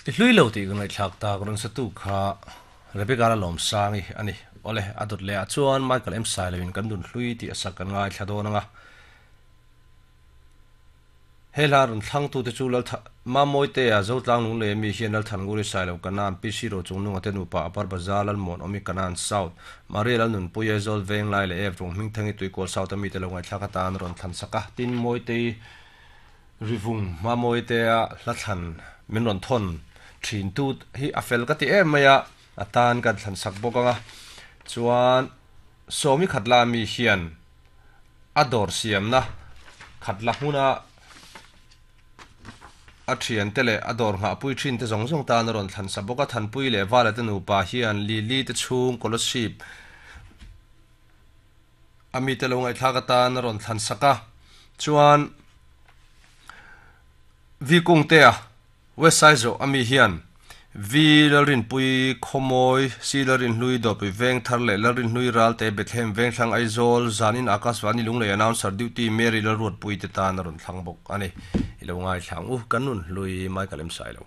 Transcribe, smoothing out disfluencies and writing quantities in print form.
I hlui lo tih ka ngaihthlak tak rawn satu kha Rebecca Lalawmsangi a ni. Awle, a dawt leh ah chuan Michael M Sailoin kan nun hlui tih a sak kan ngaithla dawn ang a. He hla rawn thlangtute chu Laltha Mamawitea Zotlang Lunglei ami hian Lalthannguri Sailo Kanan, PC Rochungnunga te nupa Upper Bazar Lalmuanawmi Kanan South, Maria Lalnunpui Aizawl Venglai leh Ev Runghmingthangi Tuikual South ami te lo ngaihthlak atan rawn thlan sak a. Tin, Mawitei Rivung Mamawitea hla thlan min rawn thawn thin tu hi a fel ka ti em mai a, a tan kan thlan sak bawk ang a. Chuan Sawmi Khatla ami hian a dawr siamna khatla hmuna a thiante leh a dawr nghahpui thinte zawng zawng tan a rawn thlan sa bawk a. Thanpui leh Vala te nupa hian Lily te chhung Kolasib a mite lo ngaihthlak atan a rawn thlan sak a. Chuan Vikungtea West Saizawh a mi hian Vi Lalrinpui Khawmawi, Si Lalrinhlui Dawrpui Vengthar leh Lalrinhlui Ralte Bethlehem Vengthlang Aizawl, Zanin Akashvani Lunglei Announcer Duty Mary Lalruatpui te tan a rawn thlang bawk a ni. I lo ngaithla ang u, kan nun hlui Michael M. Sailo.